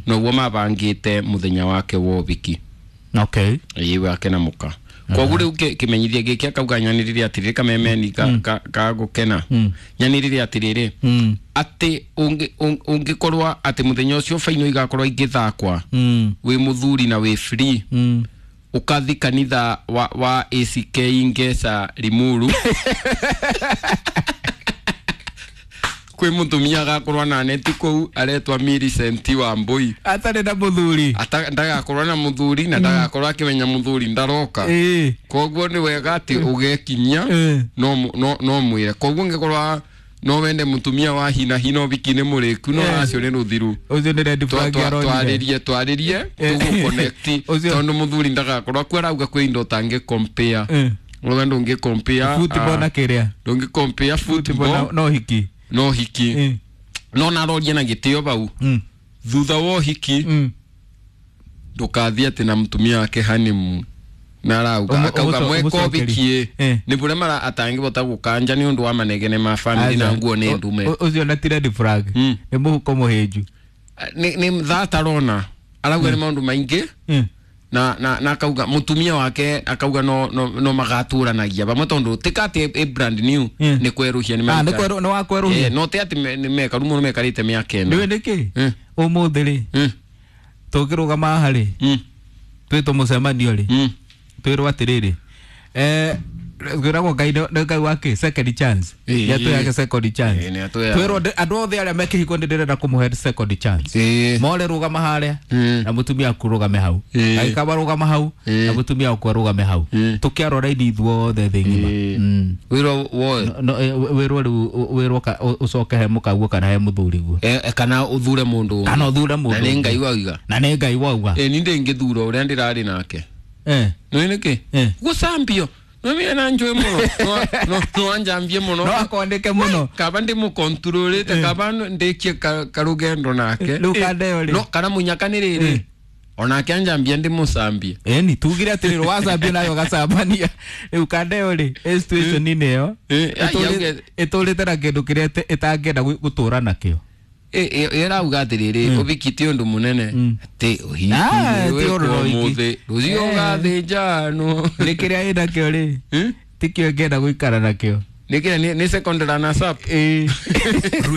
Noguo mabangite muthenya wake wa ũhiki. Ĩĩ, wake na muka. Koguo rĩu kĩmenyithia gĩkĩ akauga nyanĩrĩre atĩrĩrĩ kamemeni ka gũkena, nyanĩrĩre atĩrĩrĩ atĩ ũngĩkorwo atĩ mũthenya ũcio baino igakorwo igĩthakwa, wĩ mũthuri na wĩ free, ukathi kanitha wa ACK Ngesa Limuru, kwĩ mũtumia agakorwo na neti kũu aretwa Millicent wa Mbui. Atarĩ na mũthuri. Ndagakorwo na mũthuri na ndagakorwo akĩmenya mũthuri ndaroka. Koguo nĩ wega atĩ ũgekinyia. No mwĩre koguo ngĩkorwo no wende mũtumia wa hina hina ũhiki nĩ mũrĩku, no acio nĩ rũthiru. Ũcio nĩ red flag aronire. Twarĩrie tũgũ connect, tondũ mũthuri ndagakorwo akuo. Arauga kwĩ indo ũtangĩ compare. Uga ndũngĩ compare football na kĩrĩa? Ndũngĩ compare football no hiki. No hiki. No naroria na gĩtĩo bau, thutha wa ũhiki ndũkathiĩ atĩ na mũtumia wake honeymoon, na arauga akauga mweka ũmũcokerie. ũhiki nĩ bũrĩa mara atangĩhota gũkanja nĩ ũndũ wa manegene ma family na nguo nĩ ndume. Ũcio na ti red flag, nĩ mũhuko mũhĩnju. Nĩ thatarona arauga nĩ maũndũ maingĩ na akauga mutumia wake akauga no magaturanagia vamwe tondu tika ati ĩ brand new. Nĩ kweruhia nĩ Ah, nĩ nĩ wa kwerũhia. Eh, no ti ati nĩ mekaru mũno mekarĩte mĩaka ĩna. Nĩwe nĩkĩ ũmũthĩ rĩ tũngĩrũgama haha rĩ, twĩtwo mũcemanio rĩ, twĩrwo atĩrĩrĩ, kwĩragwo Ngai nĩ Ngai wa kĩ second chance. Nĩ atũheage second chance. Ĩĩ, nĩ atũheaga. Twĩrwo andũ othe arĩa me kĩhiko nĩ ndĩrenda kũmũhe second chance. More rũgama harĩa na mũtumia waku rũgame hau. Agĩkaba rũgama hau na mũtumia waku arũgame hau, tũkĩarwo raini ithuothe thĩ ng'ima. Wĩrwo woe. No, wĩrwo rĩu wĩrwo ũcoke he mũkaguo kana he mũthuriguo. Kana ũthure mũndũ ũngĩ. Kana ũthure mũndũ Na nĩ ũngĩ. Ngai wauga. Na nĩ Ngai wauga. Ni ndĩngĩthura ũrĩa ndĩrarĩ nake. Nĩ nĩkĩ gũcambio nĩ na njũĩ mũno. No anjambie mũno. No akwandĩke mũno. Kaba ndĩmũkontrolĩte, kaba ndĩkie karũgendo nake. Rĩu kandeo rĩ. No kana mũnyaka nĩ rĩrĩ onake anjambia ndĩmũcambie. Eni tugire atĩrĩrĩ wacambio nayo gacambania rĩu kandeo rĩ ĩ situation-inĩ ĩyo ĩtũrĩte na kĩndũ kĩrĩa ĩtangĩenda gũtũra nakĩo. Ĩrauga atĩrĩrĩ ũhiki ti ũndũ mũnene atĩ ũhiki Ah, nĩ ti ũndũ wĩkwo ũhiki. ũmũthĩ rũciũ ũgathĩnjanwo. Nĩ kĩrĩa ĩnakĩo rĩ tikĩo ĩngĩenda gũikara nakĩo. Nĩ kĩrĩa nĩ second runners up. Ĩĩ.